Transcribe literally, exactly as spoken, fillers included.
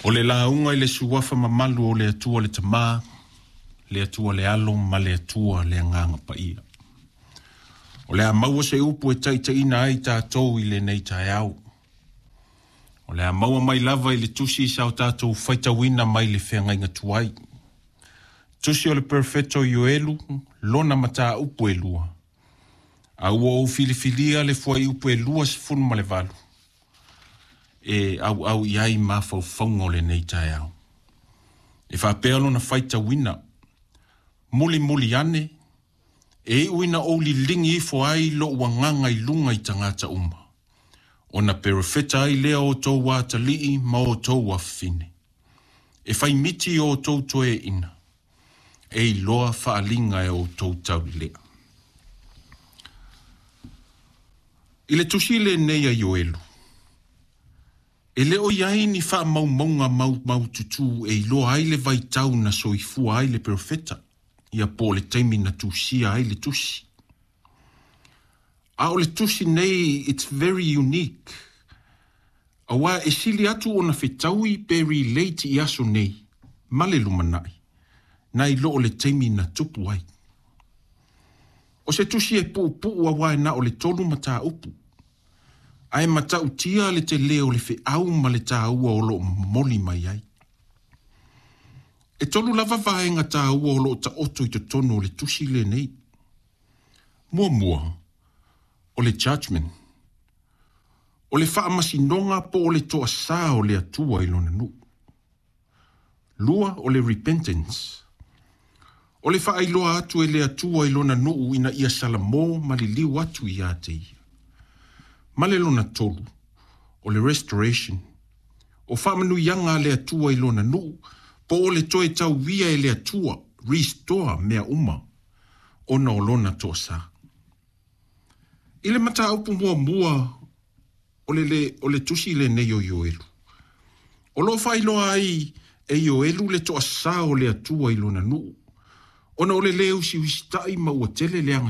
O le lauga i le suafa mamalu o le Atua le Tama, le Atua le Alo ma le Atua le Agaga Paia. O le a maua se upu e taitaiina ai tatou i lenei taeao. O le a maua mai lava i le tusi sa o tatou faitauina mai le feagaiga tuai. Tusi o le Perofeta Ioelu, lona mataupu e lua. A ua ou filifilia le fuaiupu e lua sefulu ma le valu e auau i ai mafaufauga o lenei taeao. E faapea lona faitauina, mulimuli ane, e iu ina ou liligi ifo ai lou agaga i luga i tagata uma, ona perofeta ai lea o outou atalii ma outou afafine. E faimiti i outou toeaiina, e iloa faaaliga e outou taulelea. I le tusi lenei a Ioelu, e le o i ai ni faamaumauga maumaututu e iloa ai le vaitau na soifua ai le perofeta, ia po o le taimi na tusia ai le tusi. A o le tusi nei, it's very unique. Aua e sili atu ona fetaui pe relate i aso nei, ma le lumanai, nai lo o le taimi na tupu ai. O se tusi e puupuu aua e na o le tolu mataupu, ae matautia le tele o le feau ma le taua o loo momoli mai ai. E tolu lava vaega taua o loo taoto i totonu o le tusi lenei. Muamua, o le judgment. O le faamasinoga po o le toasā o le Atua i lona nuu. Lua, o le repentance. O le faailoa atu e le Atua i lona nuu ina ia salamo ma liliu atu ia te ia. Ma le lona tolu, o le restoration. O faamanuiaga a le Atua i lona nuu, po o le toe tauia e le Atua, restore mea uma, ona o lona toasā. I le mataupu muamua o le, le, o le tusi lenei o Ioelu, o loo faailoa ai e Ioelu le toasā o le Atua i lona nuu, ona o le le usiusitai ma ua tele leaga.